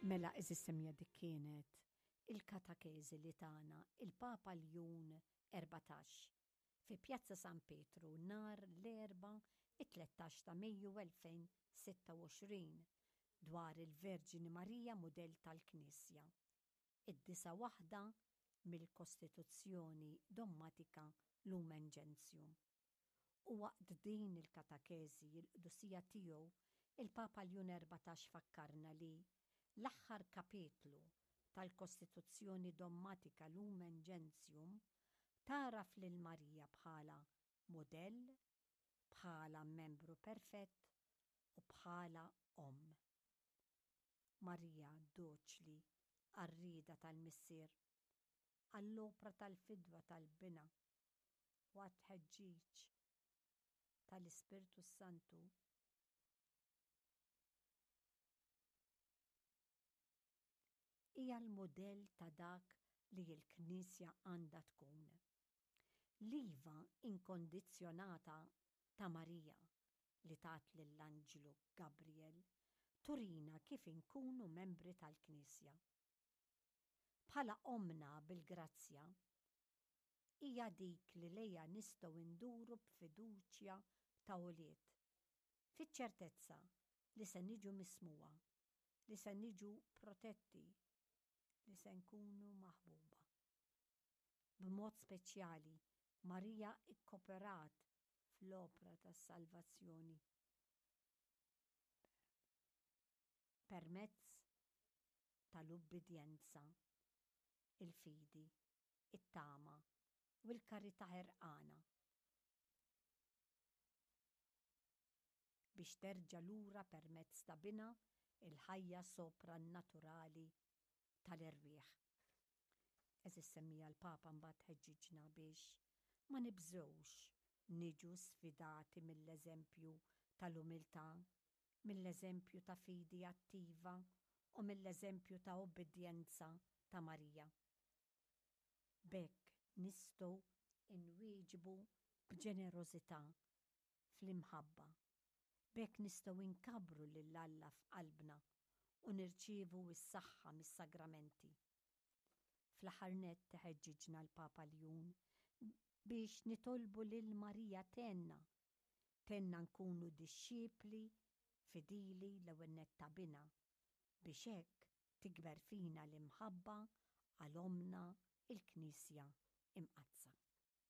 Mela għeżież semmiegħa dik kienet il-katakezi li tana il-Papa Ljun 14 fi Pjazza San Pietru nhar l-Erbgħa it-13 ta' Mejju 2026 dwar il-Verġni Marija mudell tal-Knisja, id-disa' waħda mill-Kostituzzjoni Dommatika Lumen Gentium. U waqt din il-katakeżi l-Qdusija Tiegħu il-Papa Ljun 14 fakkarna li l-aħħar kapitlu tal-Kostituzzjoni Dommatika Lumen Gentium tagħraf lil Marija bħala mudell, bħala membru perfett u bħala omm. Marija doċli għar-rieda tal-Missier, għall-opra tal-fidwa tal-Binha u għat-tħeġġiġ tal-Ispirtu s-Santu. Hija l-mudell ta' dak li l-Knisja għandha tkun. L-iva inkondizzjonata ta' Marija li tat lill-anġlu Gabriel turina kif inkunu membri tal-Knisja. Bħala Ommna bil-grazzja, hija dik li lejha nistgħu nduru b'fiduċja ta' ulied, fiċ-ċertezza li se niġu mismugħa, li se niġu protetti, li se nkunu maħbuba. B'mod speċjali, Marija kkoperat fl-opra tas-salvazzjoni permezz tal-ubbidjenza, il-fidi, it-tama u l-karità ħerqana biex terġa' lura permezz ta' Binha l-ħajja soprannaturali tal-erwieħ. Għeżież semmiegħa l-Papa mbagħad ħeġġiġna biex ma nibżgħux niġu sfidati mill-eżempju tal-umiltà, mill-eżempju ta' fidi attiva u mill-eżempju ta' ubbidjenza ta' Marija. B'hekk nistgħu nwieġbu b'ġenerożità fl-imħabba. B'hekk nistgħu nkabbru lil Alla f'qalbna u nirċievu s-saħħa mis-sagramenti. Fl-aħħar nett iħeġġiġna l-Papa Ljun biex nitolbu lil Marija tgħinna, tgħinna nkunu dixxipli fidili l-ewwel nett ta' Binha, biex hekk tikber fina l-imħabba għal Ommna l-Knisja Imqaddsa.